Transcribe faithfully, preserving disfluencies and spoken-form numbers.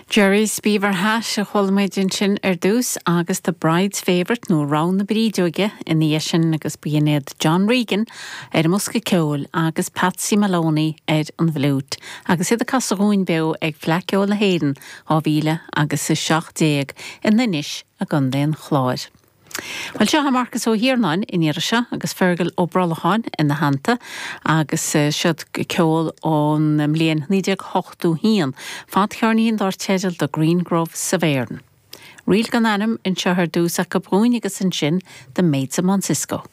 Jerry's Beaver Hat a chuala muid ansin ar dtús agus The Bride's Favourite nó Rogha na Brídeoige ina dhiaidh sin agus b'in iad John Regan ar an mbosca ceoil agus Patsy Maloney ar an bhfliúit, agus iad ag casadh dúinn beo ag Fleadh Cheoil na hÉireann dhá mhíle agus a seacht déag in Inis i gContae an Chláir. Well seo Marcas Ó hIarnáin in iar seo agus Fergal Ó Brolacháin ina theannta agus siod ceol ón mbliain naoi déag ochtó haon, fadcheirnín dar teideal The Green Grove Severn. Ríl gan ainm anseo ar dtús ach go brúin agus ansin The Maids of Mount Cisco.